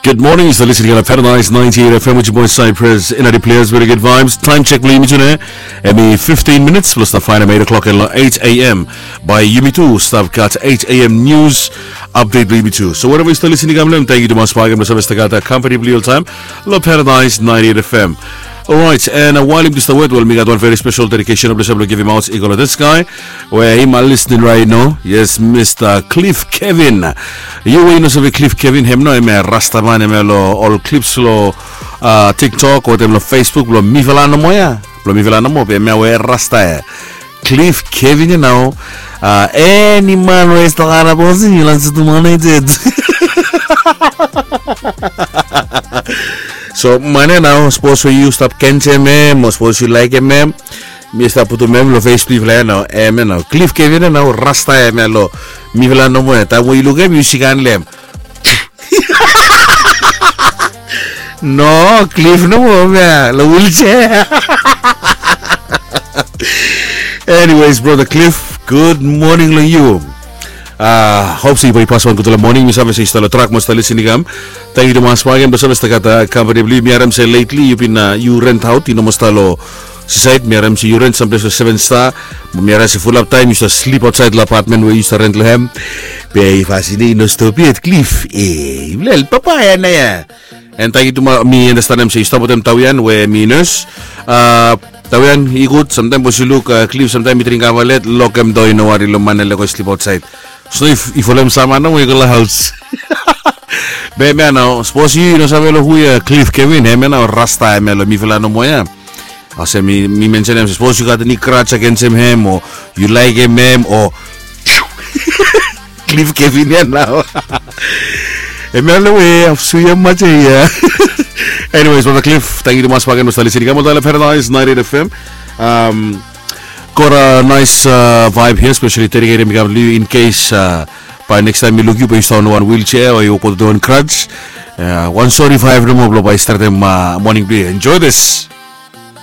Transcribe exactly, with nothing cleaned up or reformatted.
Good morning, yu stap listening long Paradise ninety-eight F M with your boy Cypress. Ina di players, very good vibes. Time check bilong yumi tune. Hemi fifteen minutes plus na fine eight o'clock and eight a.m. By yumi tu stap gat eight a.m. news update bilong yumi tu. So wherever yu stap listening, kam lem, thank you to mas pagem na service tagata company bilong all time. Lo Paradise ninety-eight F M. Alright, and uh, while yumi tu stap wet, well, mi gat wan very special dedication of the show bilong givim out equal to this guy. Where him are listening right now. Yes, Mister Cliff Kevin. Yu we yu no save Cliff Kevin, hem no, hem rasta man, hem lo all clips lo uh, TikTok, wetem lo Facebook, lo mifala no moa ya. Lo mifala no moa, be hem we rasta ya. Cliff Kevin ya nao. Uh, any man we is talking about you, you like to do money. So man ya nao, suppose we yu stap kensem hem, or suppose yu like hem, Mi stap putum em lo Facebook la ya nao, em ya nao. Cliff Kevin ya nao, rasta em ya lo. Mifala nomo ya, taem we yu lukim em, yu sikan lo em. No, Cliff nomo em ya lo wheelchair. Anyways, brother Cliff, good morning lo yu. Uh, hope se yu bai pas wan gutpela morning. Mi save se yu stap lo trak mo stap lisin i kam. Thank you tumas. Wagem bai save stap gat uh, company blo yu. Mi harim se lately yu bin uh, yu rent out, yu no mo stap lo seaside. Mi harim se yu rent samples lo seven star. Mi harim se fulap taem yu stap slip outside lo apartment we yu stap rent lo hem. Be yu fasin yu no stop yet, Cliff. E yu lel papa ya na ya. And thank you tumas. Mi andastanem se yu stap wetem Tawian we mi nurse. Uh, Tawian i gud, samtaem bos yu luk uh, Cliff, samtaem mi dring kavalet, lokem doa, i no wari lo man ya lego i slip outside. So if i folem sama nomo i go lo haus. Be em ya nao, sapos yu no save lo hu ya Cliff Kevin, em ya nao rasta em ya lo mifala nomo ya. Olsem mi, mi mensenem, sapos yu gat eni grudge agensem hem o yu laekem hem o Cliff Kevin ya nao. Em ya lo we of suya macha ya. Anyways, brother Cliff, thank you tumas bagen bos tali sini kamu tala Paradise ninety-eight F M. Um, Got a nice uh, vibe here, especially dedicated to you in case uh, by next time you look you based on one wheelchair or you go to one crutch. Uh, one sorry vibe no more by starting uh, morning beer. Enjoy this.